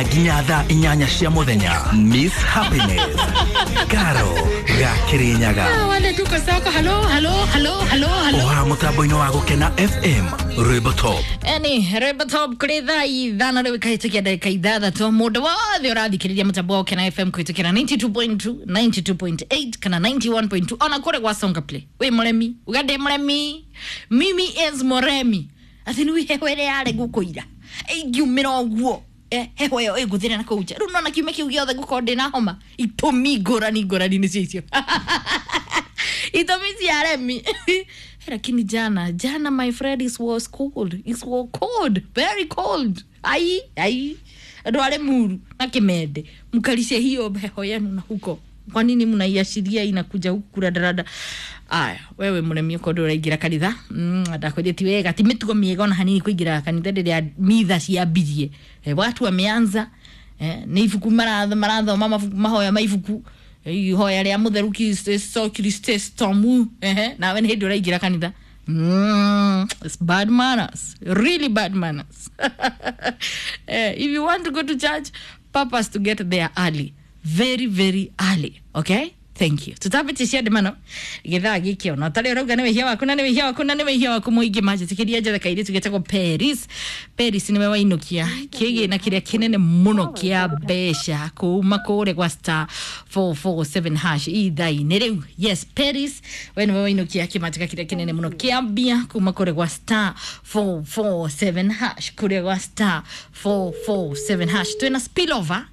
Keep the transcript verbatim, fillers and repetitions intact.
Nginya thaa inyanya cia muthenya, Miss Happiness Karo Gakirinyaga. Ah, wale tuko soko. Halo, halo, halo, halo, halo. Oha mutambo-inĩ wa Gũkena F M, rwĩmbo top. Eni rwĩmbo top kũrĩ thaa ithano rĩu ikahĩtũkia ndagĩka ithathatũ. Mũndũ wothe ũrathikĩrĩria mũtambo wa Gũkena F M kũhĩtũkĩra mĩrongo kenda na igĩrĩ turuma kenda, mĩrongo kenda na igĩrĩ turuma kenda kana mĩrongo kenda na ĩmwe turuma inya ona kũrĩ gwa Songa Play. Wĩ mũremi uga ndĩ mũremi, mimi is mũremi atĩ nĩ heho ĩrĩa yarĩ gũkũira ĩngiumĩra ũguo. Eh, heho ĩyo ĩngũthĩra na kũu nja rĩu nona kiumia kĩu gĩothe ngũkorwo ndĩna homa. Itũmi ngũrani ngũrani nĩcio icio, itũmi cia remi. Lakini jana jana, my friend, it was cold, it was cold, very cold. Ai ai, andũ arĩ muru na kĩmende mkalishe hiyo heho yenu na huko. Kwa nini mnaiashiria inakuja huku kuradarada? Aya, wewe mũremi ũkorwo ũraingĩra kanitha, mm, ndakwĩrire ti wega, ti mĩtugo mĩega ona hanini kũingĩra kanitha rĩrĩa mitha ciambirie. Eh, watu wameanza, eh, nĩ ibuku maratho marathoma mabuku mahoya ma ibuku, eh, ihoya rĩa mũtheru Kristomu, ehe, nawe nĩ hĩndĩ ũraingĩra kanitha. Mm, it's bad manners, really bad manners. Eh, if you want to go to church, purpose to get there early, very very early. Okay, thank you. Tutambĩtĩcia ndĩmano gĩthaa gĩkĩ ona ũtarĩ ũrauga nĩ wĩhia waku na nĩ wĩhia waku na nĩ wĩhia waku mũingĩ manjĩtĩkĩria njethe kairĩtu getagwo Paris. Paris nĩwe wainũkia kĩgĩna kĩrĩa kĩnene mũno kĩa mbeca kuma kũrĩa gwa star four four seven hash ithaa-inĩ rĩu. Yes, Paris, we nĩwe wainũkia kĩmanjĩka kĩrĩa kĩnene mũno kĩa mbia kuma kũrĩa gwa star four four seven hash, kũrĩa gwa star four four seven hash. Twĩna spillover.